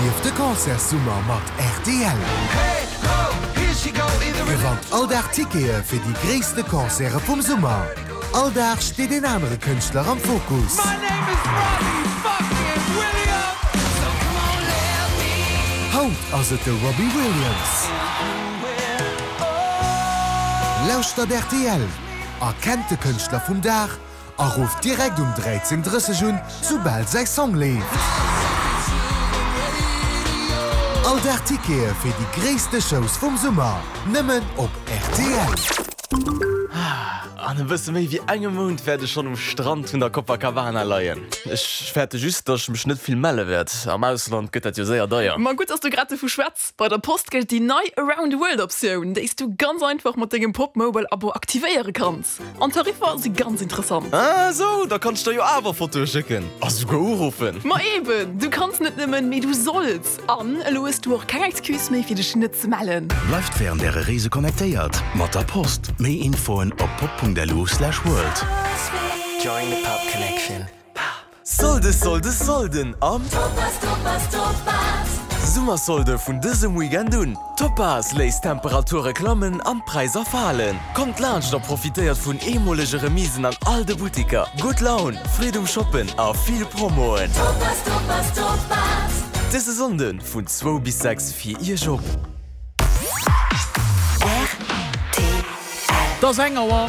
Erlieft de Concertssummer mat rtl! Gewannt all Dag Tickete fir déi gréisste Concerte vum Summer. All Dag steet een anere Kënschtler am Fokus. Haut ass et de Robbie Williams. Lauschtert rtl, erkennt de Kënschtler vum Dag A rufft direkt um 13:30 un, soubal säi Song leeft. All Dag Tickete fir déi gréisste Shows vum Summer, nëmmen op rtl. An e bësse méi wéi engem Mount wäert ech schonn um Strand vun der Copacabana leien. Ech fäerte just, dass ech mech net vill melle wäert. Am Ausland gëtt dat jo séier deier. Ma gutt, dass du grad dovu schwätz. Bei der Post gëllt déi nei Around the World Optioun, déi s du ganz einfach mat dengem Popmobile Abo aktivéiere kanns. An d'Tariffer si ganz interessant. Ah sou, da kann ech der jo awer Fotoe schécken a souguer uruffen. Ma eben, du kanns net nëmmen, mee du solls! An elo hues du och keng Excuse méi fir dech net ze mellen. Bleift wärend äre Reese connectéiert mat der Post. Méi Infoen op pop.lu/world. Join the Pop Connection. Solde, Solde, Solden am Topaz, Topaz, Topaz! Summersolde vun dësem Weekend un! Topaz léisst d'Temperature klammen an d'Präisser falen. Kommt laanscht a profitéiert vun eemolege Remisen an all de Buttiker. Gutt Laun, Freed um Shoppen a vill Promoen! Topaz, Topaz, Topaz! Dëse Sonnde vun zwou bis 6 fir Iech op. Et ass eng Auer.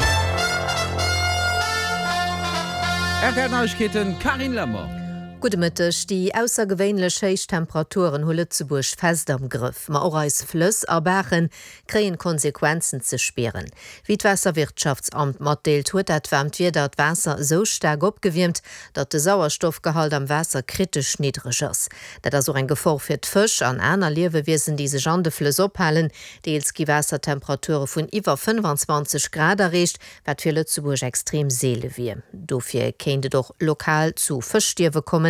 Rtl Neiegkeeten, Carine Lemmer. Gudde Mëtteg. Déi aussergewéinlech héich Temperaturen hu Lëtzebuerg fest am Grëff. Ma och eis Flëss a Baache kréien d'Konsequenzen ze spieren. Wéi d'Waasserwirtschaftsamt matdeelt, huet dat waarmt Wieder d'Waasser esou staark opgewiermt, datt de Sauerstoffgehalt am Waasser kritesch niddreg ass. Dat ass och eng Gefor fir d'Fësch an aner Liewewiesen, déi sech an de Flëss ophalen. Deels gi Waassertemperature vun iwwer 25 Grad erreecht, wat fir Lëtzebuerg extrem seele wier. Dofir kéint et och lokal zu Fëschstierwe kommen.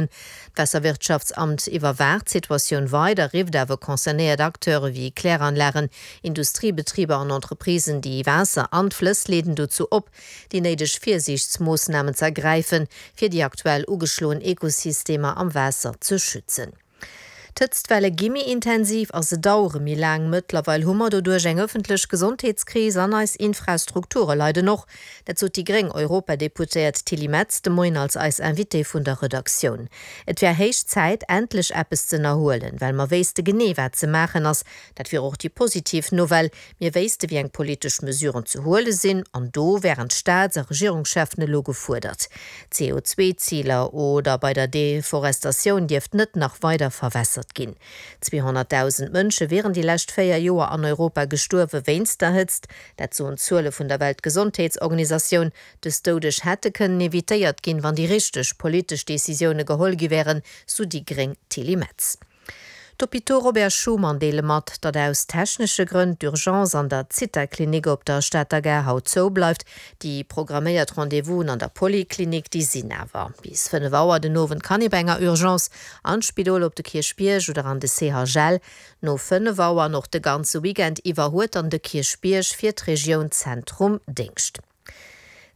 D'Waasserwirtschaftsamt iwwerwaacht d'Situatioun weider, rifft awer concernéiert Acteure wéi Kläranlagen, Industriebetriber an Entreprisen, déi Waasser an d'Flëss leeden, dozou op, déi néideg Virsiichtsmoossnamen ze ergräifen, fir déi aktuell ugeschloen Ekosystemer am Waasser ze schützen. D'Hëtztwelle gi méi intensiv a se dauere méi laang. Mëttlerweil hu mer doduerch eng ëffentlech Gesondheetskris an eis Infrastrukture leiden och. Dat sot déi gréng Europadeputéiert Tilly Metz de Moien als eis Invitée vun der Redaktioun. Et wär héich Zäit, endlech eppes z'ënnerhuelen, well mer wéisste genee, wat ze maachen ass. Dat wier och déi positiv Nouvelle. Mir wéisste wéi eng politesch Mesuren ze huele sinn, an do wären d'Staats a Regierungscheffen elo gefuerdert. CO2-Ziler oder bei der Deforestatioun dierft net nach weider verwässert ginn. 200.000 Mënsche wieren déi lescht 4 Joer an Europa gestuerwe wéinst der Hëtzt, dat soen d'Zuele vun der Weltgesondheetsorganisatioun. Dës Doudeg hätte kënnen evitéiert ginn, wann déi richteg politesch Decisioune geholl gi wären, sou déi gréng Tilly Metz. D'Hôpitaux Robert Schuman deele mat, datt aus technesche Grënn d'Urgence an der Zitha-Klinik op der Stater Gare haut zou bleift. Déi programméiert Rendez-vousen an der Poliklinik, déi sinn awer. Bis 5 Auer den Owend kann ee bei enger Urgence an d'Spidol op de Kierchbierg oder an de CHL. No 5 Auer an och de ganze Weekend iwwer huet dann de Kierchbierg fir d'Regioun Zentrum Déngscht.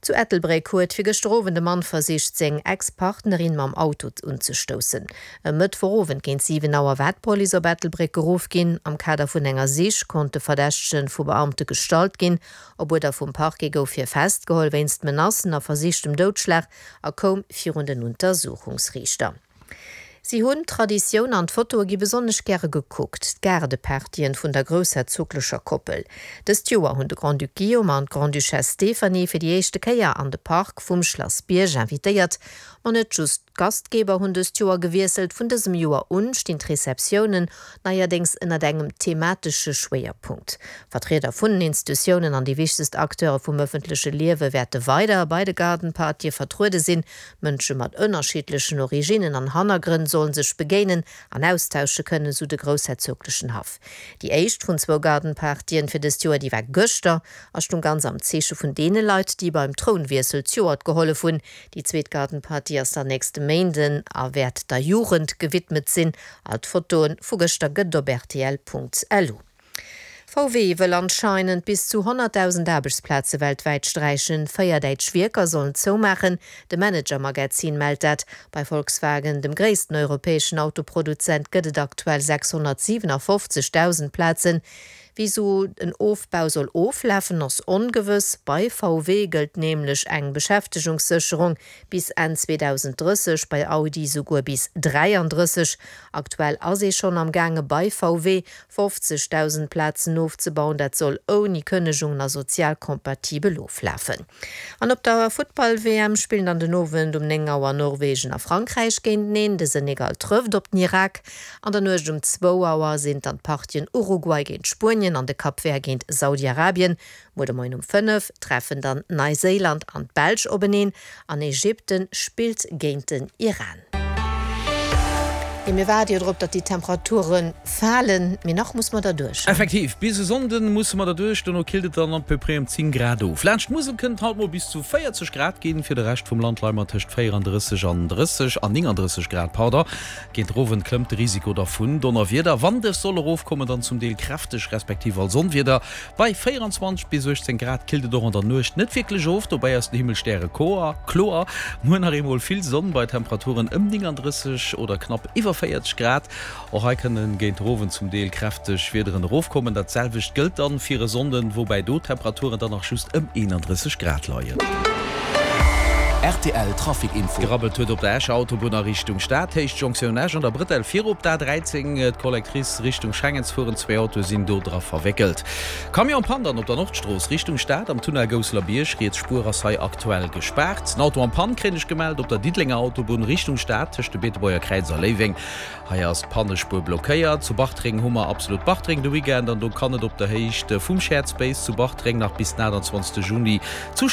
Zu Ettelbréck huet fir gëschter Owend e Mann versicht, seng Ex-Partnerin mam Auto unzestoussen. E Mëttwochowend géint 7 Auer war d'Police op Ettelbréck geruff ginn. Am Kader vun enger Sich konnt de Verdächtege vu Beamte gestallt ginn. Op Uerder vum Parquet gouf hie festgeholl wéinst Menacen a versichtem Doudschlag a koum virun den Untersuchungsriichter. Si hunn Traditioun an d'Fotoe gi besonnesch gäre gekuckt, d'Gaardepartyen vun der groussherzoglecher Koppel. Dëst Joer hunn de Grand-Duc Guillaume an d'Grande-Duchesse Stéphanie fir déi éischte Kéier an de Park vum Schlass Bierg invitéiert. Ma net just d'Gastgeber hunn dëst Joer gewiesselt, vun dësem Joer un stinn d'Receptiounen neierdéngs ënnert engem thematesche Schwéierpunkt. Vertrieder vun den Institutiounen an déi wichtegst Acteure vum ëffentleche Liewe wäerte weider bei de Garden-Partye vertruede sinn. Mënsche mat ënnerschiddlechen Originnen an Hannergrënn sollen sech begéinen an austausche kënnen, sou de groussherzoglechen Haff. Déi éischt vun zwou Garden-Partyen fir dëst Joer, déi war gëschter a stung ganz am Zeeche vun deene Leit, déi beim Trounwiessel zejoert gehollef hunn. Déi zweet Garden-Party ass dann nächste Méinden a wäert der Jugend gewidmet sinn. All d'Fotoe vu gëschter gëtt et op rtl.lu. VW wëll anscheinend bis zu 100.000 Aarbechtsplaze weltwäit sträichen. 4 däitsch Wierker sollen zoumaachen, de Manager Magazin mellt dat. Bei Volkswagen, dem gréissten europäeschen Autoproduzent, gëtt et aktuell 657.000 Plazen. Wéi sou en Ofbau soll oflafen, ass ongewëss. Bei VW gëllt nämlech eng Beschäftegungssécherung bis Enn 2030, bei Audi souguer bis 33. Aktuell ass ee schonn am gaange bei VW 50.000 Plazen ofzebauen. Dat soll ouni Kënnegungen a sozial kompatibel oflafen. An op der Futtball-WM spillen dann den Owend um 9 Auer Norwegen a Frankräich géinteneen. De Senegal trëfft op den Irak. An der Nuecht um zwou Auer sinn dann d'Partien Uruguay géint Spuenien an de Cap Vert géint Saudi-Arabien. Muer de Moien um 5 treffen dann Neiséiland an d'Belsch openeen an Ägypten spillt géint den Iran. Jo, mir waarde jo drop, datt déi Temperature falen, mee nach muss mer derduerch. Effektiv, bis e Sonnden musse mer derduerch, dono killt et dann à peu près ëm 10 Grad of. Laanscht d'Musel kënnt et haut mol bis zu 40 Grad ginn, fir de Rescht vum Land leie mer tëscht 34 an 30 an 39 Grad, pardon. Géint den Owend klëmmt de Risiko da vun Donnerwieder. Wann dës soll erofkommen, dann zum Deel kräfteg respektiv als Onwieder. Bei 24 bis 18 Grad killt et och an der Nuecht net wierklech of, dobäi ass den Himmel stärekloer. Muer nach eemol vill Sonn bei Temperaturen ëm 39 oder knapp iwwer 40 Grad. Och hei kënne géint den Owend zum Deel kräfteg Wiederen erofkommen. Dat selwecht gëllt dann fir e Sonnden, woubäi do d'Temperaturen dann nach just ëm 31 Grad leien. Rtl Trafic Info. Gerabbelt huet op der Escher Autobunn a Richtung Stad, Héicht Jonktioun Esch an der Brëtell virop d'A13, d'Collectrice Richtung Schengen fueren. Zwee Autoe sinn do dra verwéckelt. Camion en panne dann op der Nordstrooss Richtung Stad am Tunnel Gousseler Bierg. Riets Spuer ass hei aktuell gespaart. En Auto en panne kréien ech gemellt op der Diddelenger Autobunn Richtung Stad tëscht dem Beetebuerger Kräiz a Léiweng. Hei ass d'Pannespuer blockéiert. Zu Bartreng hu mer Absolut Bartreng de Weekend an do kann et op der Héicht vum Shared Space zu Bartreng nach bis den 28 Juni zu.